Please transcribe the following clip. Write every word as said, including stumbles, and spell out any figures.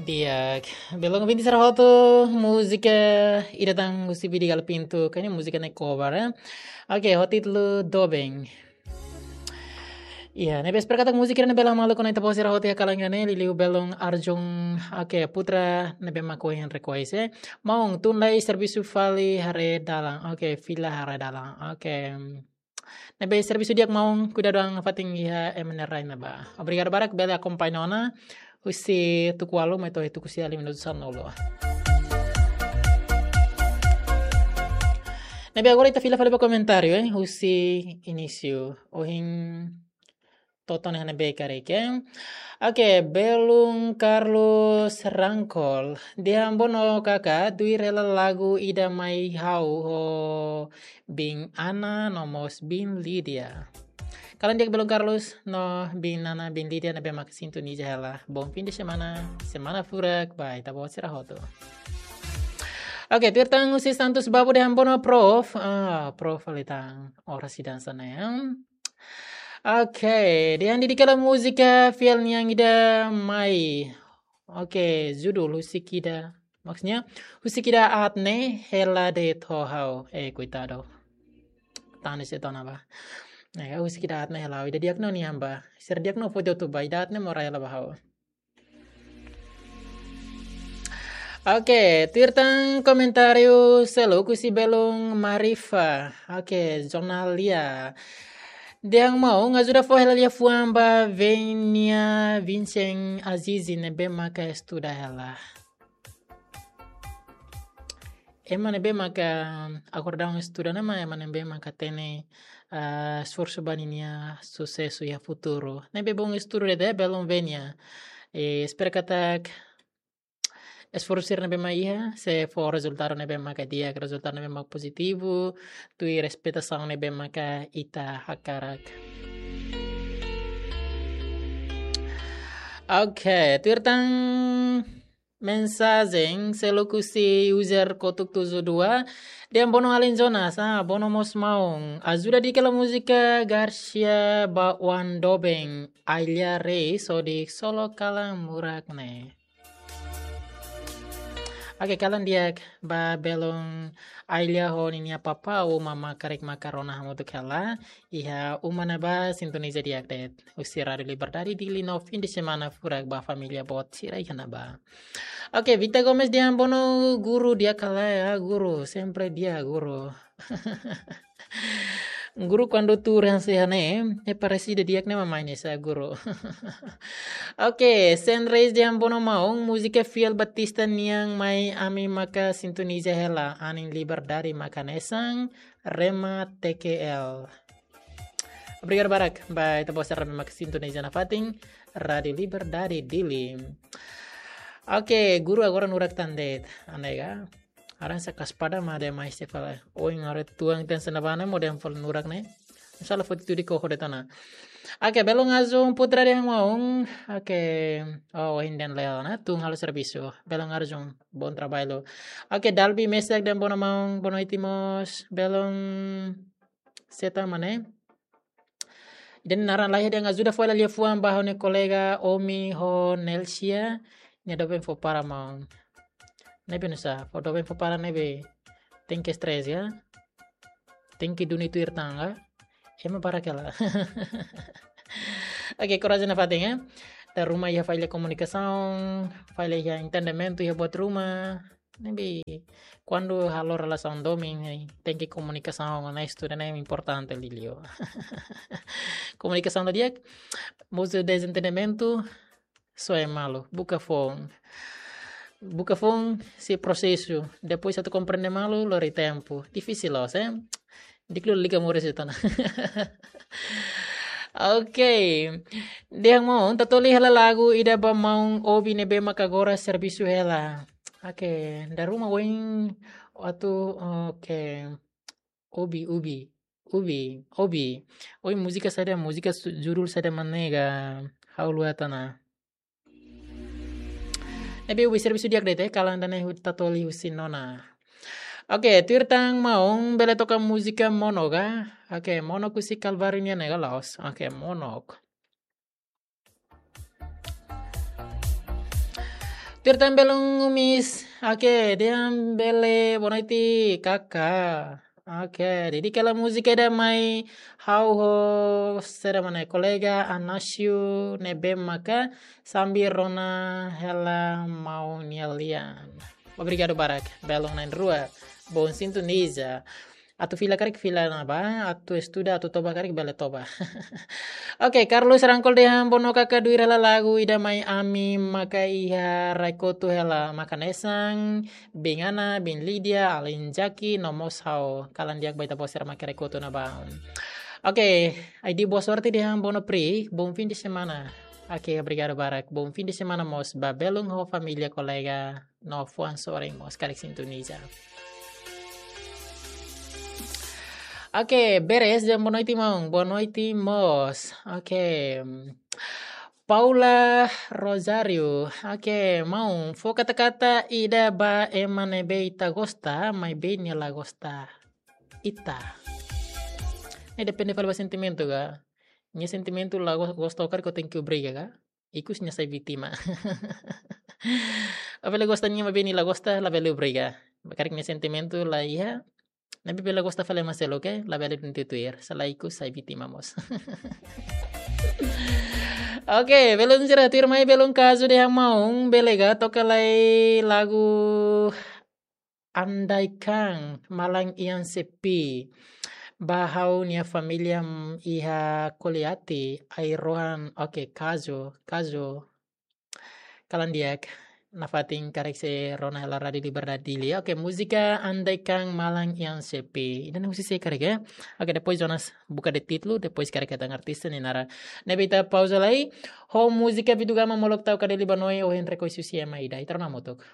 Di'ak, belun ouvinte sira hotu, múzika ida tan husi Vidi Galo Pinto, karik múzika ne'e cover, eh? Oke, ho títulu Doben. Iya, ne'ebé espera katak múzika ne'e bele maluk ona ita-boot sira hotu iha kalan ida-ne'e, liuliu belun Arjun, oke, Putra ne'ebé mak ohin request, eh? Maun, tun lai servisu fali haree dalan, oke, fila haree dalan, oke. Ne'ebé servisu di'ak maun, kuidadu an fatin iha ema nia rai ne'ebá. Obrigadu barak, bele akompaña ona husi tuku ualu mai to'o tuku sia lima minutu sanulu. Ne'ebé agora ita fila fali ba komentáriu, eh, husi inísiu. Ohin to'o ona iha ne'ebé karik, eh. Oke, belun Carlos Rangkol. Dehan Bono kaka, tuir hela lagu ida mai ha'u ho Bin Ana no mós Bin Lídia. Kalan di'ak belun Carlos no Bin Ana, Bin Lídia ne'ebé mak sintoniza hela. Bom fim de semana, semana furak ba ita-boot sira hotu. Oke, tuir tan husi Santos Babu dehan Bono prof. Ah, prof fali tan orasi dansa ne'e. Oke, dehan Didi kala múzika fiel nian ida mai. Oke, judul husik ida. Maksudnya, husik ida aat ne'e hela de'it ho ha'u. Eh, koitadu. Tanis ida ona ba. Eh, husik ida aat ne'e hela ha'u. Ida di'ak no nian ba. Sira di'ak no foto tu ba. Ida aat ne'e morai hela ba ha'u. Oke, tuir tan komentáriu seluk husi belun Marifa. Oke, Jonalia. Dehan maun ajuda fó hela liafuan ba Venia Vincent Azizi ne'ebé maka estuda hela. Ema ne'ebé maka akordaun estuda ne'e mak ema ne'ebé maka hatene, ah, esforsu ba ninia susesu iha futuru. Ne'ebé bom estuda de'it, belun Venia. Eh, espera katak esforsu sira ne'ebé mak iha, sei fó rezultadu ne'ebé maka di'ak, rezultadu ne'ebé mak pozitivu, tuir espetasaun ne'ebé maka ita hakarak. Oke, tuir tan mensajen seluk husi user kotuk tujuh dua, dehan Bono alin Jonas, ah, Bono mós maun. Ajuda Didi kala múzika Garcia ba oan doben, Ailia Reis, hodi solo kalan murak ne'e. Oke, kalan di'ak ba belun Ailia ho ninia papá, uma mak karik maka rona hamutuk hela. Iha uma ne'ebá sintoniza di'ak de'it husi Rádiu Liberdade Dili no fim de semana furak ba família boot sira iha ne'ebá. Oke, Vita Gomes dehan Bono guru di'ak ka lae, ah, guru, sempre di'ak guru. Guru kuandu tuur hanesan ne'e, eh, parese ida di'ak ne'e mak mai hanesan guru. Oke, Sen Reis dehan Bono maun, múzika fiel Batista nian mai ami maka sintoniza hela, anin Liberdade mak hanesan, Rema T K L. Obrigadu barak ba ita-boot sira ne'ebé mak sintoniza nafatin Rádiu Liberdade Dili. Oke, guru agora nurak tan de'it, anega. Aran saka spada ma de mais te fala. Oin are tuang ten sena bana mo dem fal nurak ne'e. Insya Allah foti tudik ko hode tana. Oke, belun Arjun Putra dehan maun. Oke, oh, ohin dehan leo na, tun halo servisu. Belun Arjun, bom trabalho. Oke, Dalbi Mesak dehan Bono maun, Bono itimos. Belun Seta mane. Ida-ne'e naran laiha dehan ajuda fó hela liafuan ba ha'u-nia kolega Omi ho Nelsia. Nia doben fó para maun. Ne'ebé nusá, fó doben fó para ne'ebé. Tenke stress ya. Tenke duni tuir tangga. Ema para kela. Oke, korajen nafatin ya. Dala ruma iha falla komunikasaun, falla iha entendimentu iha buat ruma. Ne'ebé, kuandu halo relasaun domin, eh, tenke komunikasaun, ne'e estuda ne'e importante liuliu. Komunikasaun la di'ak, mosu dezentendimentu, soe malu, buka foun. Buka foun, sei prosesu, depois atu komprende malu, lori tempu. Difisil loos, eh? Di'ak liu liga moris itu na. Oke. Dehan maun, Tatoli hela lagu ida ba maun Obi ne'ebé maka agora servisu hela. Oke, dala ruma oin atu, oke. Obi, Obi, Obi, Obi. Oin múzika saida, múzika su-, judul saida mak ne'e ka ha'u haluha tiha ona. Ne'ebé Obi servisu di'ak de'it, eh, kalan ida-ne'e hu-, Tatoli husi nona. Oke, tuir tan maun bele toka múzika Monok ka? Oke, Monok husi Kalváriu nian ne'e ka la'ós? Oke, Monok. Tuir tan belun, Miss. Oke, dehan bele boa noite, Kaka. Oke, dedika hela múzika ida mai ha'u ho sira mana kolega Anasio ne'ebé maka sambil rona hela maun nia lian. Obrigadu barak, belun na'in-rua. Bom sintoniza. Atu fila karik fila ona ba, atu estuda, atu toba karik bele toba. Oke, Carlos Rangkol dehan bono Kaka duir hela lagu ida mai ami maka iha Rai-Kotu hela, maka hanesan biin Ana, biin Lídia, alin Jaki, no mós ha'u, kalan di'ak ba ita-boot sira maka Rai-Kotu ona ba. Oke, Aidi Boa Sorte dehan bono Pri, bom fim de semana. Oke, obrigadu barak. Bom fim de semana mós ba belun ho família, kolega no fuan sorin mós karik sintoniza. Oke, Beres dehan boa noite, maun. Boa noite mós. Oke. Paula Rosário. Oke, maun, fó kata-kata ida ba ema ne'ebé ita gosta, maibé nia la gosta ita. Ne'e depende fali ba sentimentu ka. Nia sentimentu la gos-, gosta karik, ita tenke obriga ka. Ikus nia sai vítima. Apabila gosta nia maibé nia la gosta, labele obriga. Karik nia sentimentu la iha, ne'ebé bele gosta fali ema seluk, oke? Labele tenke tuir. Se la ikus sai vítima mós. Oke, belun sira, tuirmai belun kazu dehan maun, bele ka toka lai lagu Andaikan Malam Yang Sepi ba ha'u-nia família, mm, iha Koliati, Airohan, oke, kazu, kazu. Kalan di'ak, nafatin karik sei rona hela Rádio Liberdade Dili. Oke, múzika Andaikan Malam Yang Sepi. Ida-ne'e husi sé karik, eh? Oke, depois Jonas buka de'it títulu, depois karik hetan artista nia naran. Ne'ebé ita pauza lai, ho múzika Vitu Gama Molok Tau Kadeli Ba Noi, ohin rekois husi ema ida. Ita rona hamutuk.